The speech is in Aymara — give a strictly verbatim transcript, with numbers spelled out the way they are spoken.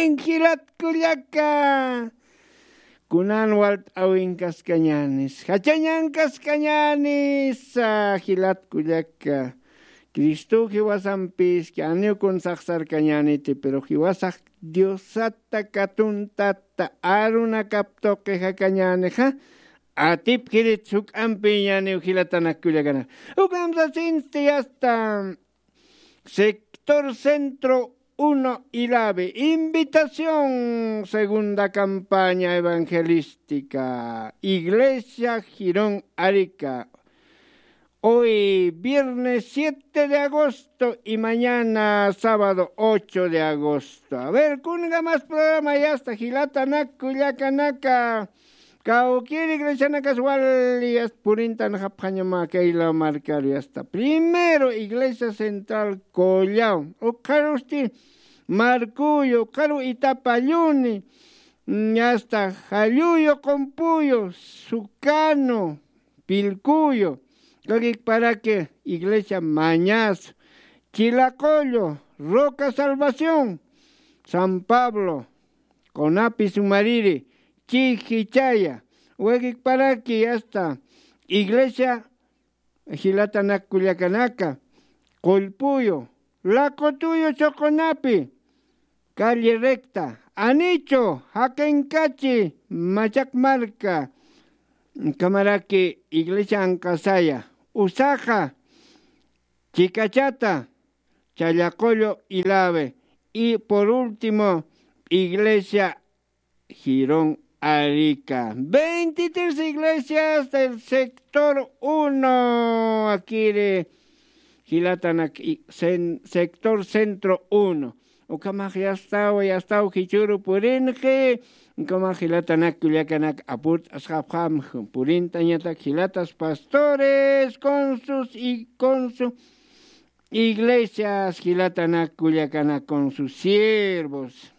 Jilat kullaka, kunan walt'awinkaskañänis, jachañankaskañänis, jilat kullaka. Cristo jiwasampis, janiw kun saxsarkañäniti, pero jiwasax Diosata katuntata arunakap tuqi jakañänixa, atipkirit juk'ampiñäniw jilatanak kullakanak. Ukham sasinsti hasta sector centro uno, Ilave, invitación, segunda campaña evangelística, Iglesia Girón Arica. Hoy viernes siete de agosto y mañana sábado ocho de agosto. A ver, kunka más programa ya está, jilatanak kullakanaka. Kawkïri iglesianakas wali yasta purintanxapxañama kayla markaru yasta. Primero, Iglesia Central Collao. Ukxarusti Marcuyo, ukxaru Itapalluni, mm, yasta Jalluyo, Qumpuyo, Sucano, Pilcuyo. Ukakikparaki Iglesia Mañas, Chilaqullo, Roca Salvación, San Pablo, Qonapi, Sumariri, Chijichaya, ukakikparaki hasta Iglesia jilatanak kullakanaka, Qullpuyo, Laqutuyo, Choqonapi, Calle Recta, Anichu, Jaqinkachi, Machaq Marka, ukhamaraki Iglesia Anqasaya, Usaqa, Chicachata, Challaqullo, Ilave, y por último, Iglesia Girón Arica. Veintitrés iglesias del sector uno, akiri jilatanak i-, cen-, sector centro uno. Ukhamax yastaw, yastaw jichhüru purinxi, ukhamax jilatanak kullakanak apurt'asxapxam, purintañatak jilatas pastores con sus i-, con su iglesias, jilatanak kullakanak con sus siervos.